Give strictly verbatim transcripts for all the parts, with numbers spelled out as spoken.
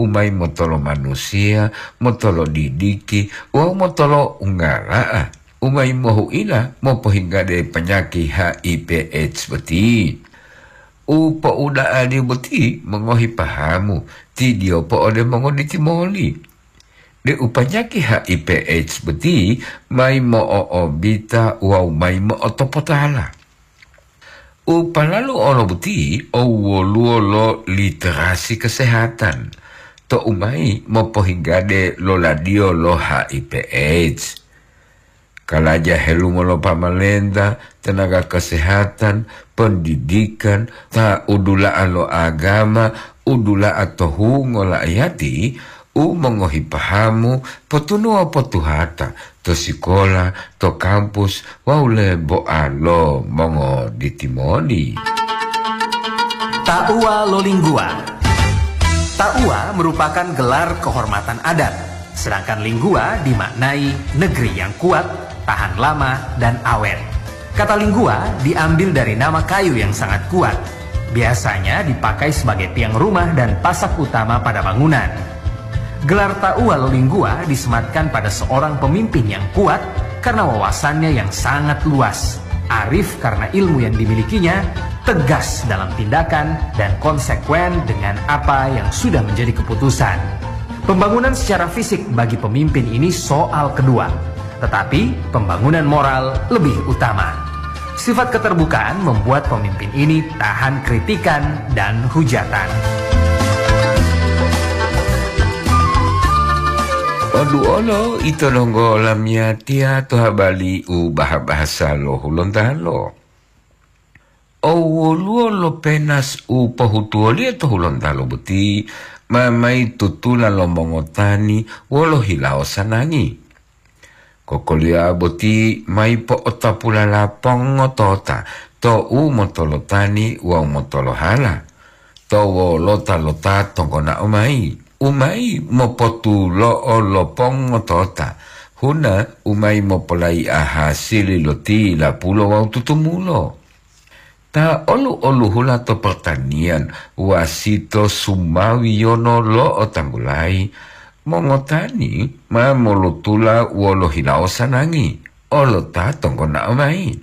u mayi motolo manusiya, motolo didiki, wawu motolo unggala'a, u mayi mohu'ila mopohinggade panyaki H I V AIDS boti. U po'uda'aliyo boti mongohi pahamu, tidiyopo ode mongoditimoli, deu panyaki H I V AIDS boti mayi mo'o'obita wawu mayi mo'otopotala. U palalu olo boti o woluwo lo literasi kesehatan, to'u mayi mopohinggade loladiyo lo H I V AIDS. Kalaja helumo lo pamalenta, tenaga kesehatan, pendidikan, ta udula'a lo agama, udula'a to hungo la'iyati, u mongohi pahamu, potunuwa potuhata to sikola, to kampus, wawu lebo'a lo mongoditimoni. Ta'uwa lo Lingguwa. Ta'uwa merupakan gelar kehormatan adat, sedangkan Lingguwa dimaknai negeri yang kuat, tahan lama, dan awet. Kata Lingguwa diambil dari nama kayu yang sangat kuat. Biasanya dipakai sebagai tiang rumah dan pasak utama pada bangunan. Gelar Ta'uwa lo Lingguwa disematkan pada seorang pemimpin yang kuat karena wawasannya yang sangat luas, arif karena ilmu yang dimilikinya, tegas dalam tindakan, dan konsekuen dengan apa yang sudah menjadi keputusan. Pembangunan secara fisik bagi pemimpin ini soal kedua, tetapi pembangunan moral lebih utama. Sifat keterbukaan membuat pemimpin ini tahan kritikan dan hujatan. Odu olo ito donggo lamiyatiya to habali u baha-bahasa lo Hulontalo. O woluwo lo penas u pohutuwoliyo to Hulontalo boti, ma mayi tutula lo mongotani wolo hilawo sanangi. Kokoliyowa boti mayi po'otapulala pongotota to u motolotani wawu motolohala, to wolota lo ta tonggonao mayi, u mayi mopotulo'o lo pongotota, huna u mayi mopolayi'a hasili lo tilapulo wawu tutumulo. Ta olu-oluhula to pertanian, wasito sumawiyono lo otanggulayi, mongotani ma molutula wolo hilawo sanangi, olo ta tonggonao mayi.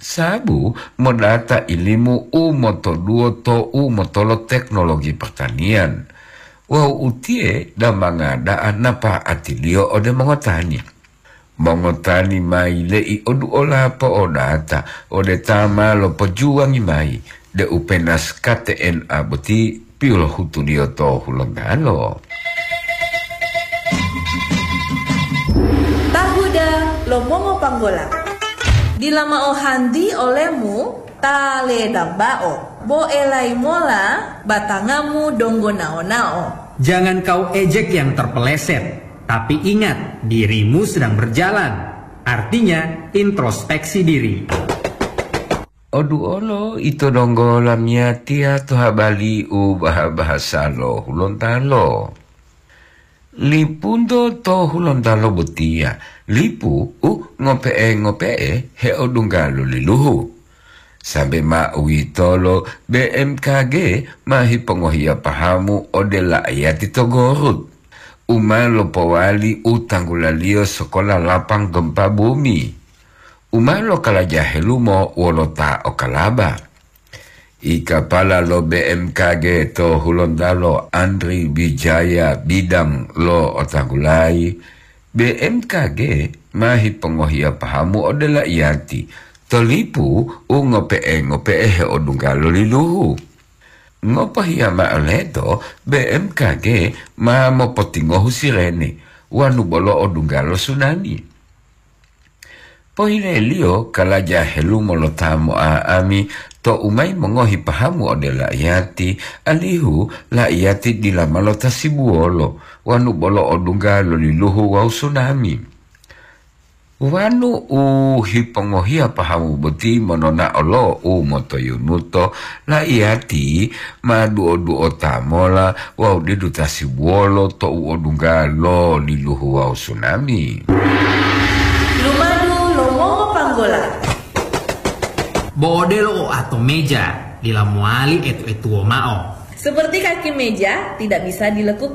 Sabu modata ilimu u motoduwo to u motolo teknologi pertanian, wawu utiye damanga da'a napa'atiliyo ode mongotani. Mongotani ma yile'i oduola po'odata ode ta ma lopojuwangi mayi deu penas K T N A boti pilohutuliyo to Hulontalo. Tahuda lo mongopanggola. Dila mao hanti olemu ta ledambao, bo elayi mola batangamu donggo nao-nao. Jangan kau ejek yang terpeleset, tapi ingat, dirimu sedang berjalan. Artinya, introspeksi diri. Odu olo ito donggo lamiyatiya to habali u baha-bahasa lo Hulontalo. Lipunto to Hulontalo botiya, lipu u ngope'e-ngope'e heodungga lo liluhu. Sambe ma uwitolo, B M K G ma hipongohiya pahamu ode la'ayati to Gorut, u ma lopowali u tanggulaliyo sokola lapang gempa bumi, u ma lokalaja helumo wolo ta o Kalaba. I kapala lo B M K G to Hulontalo, Andri Wijaya Bidang lo otanggulayi, B M K G ma hipongohiya pahamu ode la'iyati to lipu u ngope'e-ngope'e heodungga lo liluhu. Ngopohiya ma'o leto, B M K G ma mopotingohu sirene wanu bolo odungga lo sunami. Pohileliyo kalaja helumo lo ta mo'a'ami to u mayi mongohi pahamu ode la'iyati, alihu la'iyati dila ma lotasibuwolo wanu bolo odungga lo liluhu wawu sunami. Wanu u hipongohiya pahamu boti monona'o lo u motoyunuto, la'iyati ma duo-duota mola wawu didu tasibuwolo to u odungga lo liluhu wawu sunami. Lumadu lo mongopanggola. Bo odelo oato meja, dila mowali etu-etuwo mao. Seperti kaki meja tidak bisa dilekukan.